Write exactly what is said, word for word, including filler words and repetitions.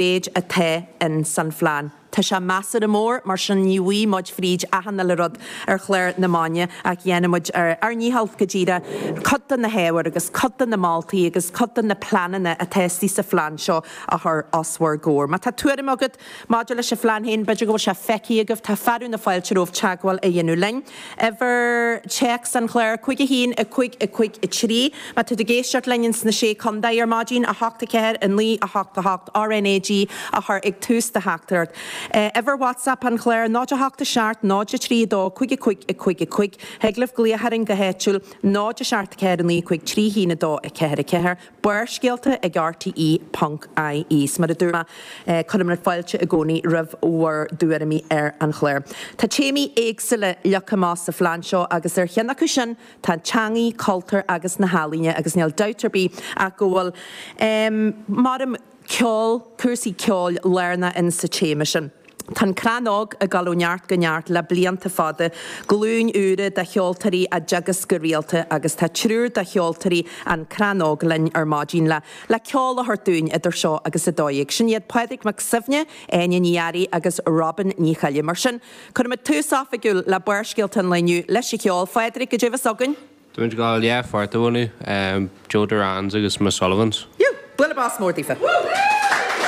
mhéid atá in san phlean. Tá sé measartha mór, mar sin ní bhfaighidh muid fríd achan uile rud ar chlár na maidine ach dhéanfaidh muid ar ár ndícheall go díreach cuid de na hábhair agus cuid de na moltaí agus cuid de na pleananna atá istigh sa phlean seo a chur os bhur gcomhair. Má tá tuairim agat maidir leis an phlean féin, b'fhéidir go bhfuil sé feicthe agaibh, tá fearadh na fáilte romhaibh teagmháil a dhéanamh linn. Uimhir téacs an chláir, cúig a haon, a cúig, a cúig, a trí. Má tá tú ag éisteacht linn ins na Sé Chontae ar maidin, a hocht a ceathair, a naoi, a hocht a hocht, RNAG a chur ag tús do theachtaireacht. Uimhir WhatsApp an chláir, náid a hocht a seacht, náid a trí a dó, cúig a cúig, a cúig a cúig. Thig libh glaoch orainn go háitiúil, náid a seacht a ceathair a naoi cúig trí haon a dó a ceathair a ceathair. Barrscéalta ag RTE ponc IE. 'S mar a dúirt mé, cuirimid fáilte i gcónaí roimh bhur dtuairimí ar an chlár. Tá téamaí éagsúla leagtha amach sa phlean seo agus ar cheann acu sin tá teangaí, cultúr agus na healaíona agus níl dabht ar bith ach go bhfuil, maram, ceol, cúrsaí ceoil lárnach in sa téama sin. Tá an Crann Óg ag dul ó neart go neart le blianta fada, glúin úra de cheoltóirí á dteagasc go rialta agus tá triúr de cheoltóirí an Crann Óg linn ar maidin le le ceol a thabhairt dúinn idir seo agus a dó dhéag. Sin iad Pádraig Mac Suibhne, Áine Ní Fhearraigh agus Robin Ní Choille. Mar sin, cuirfimid tús oifigiúil le Barrscéalta an lae inniu leis an cheol. Phádraig, goidé bhí againn? Tá muid ag gabháil dhá pháirt a mhúineadh, Joe Durans agus Miss Sullivans. Bualadh bos mór daofa.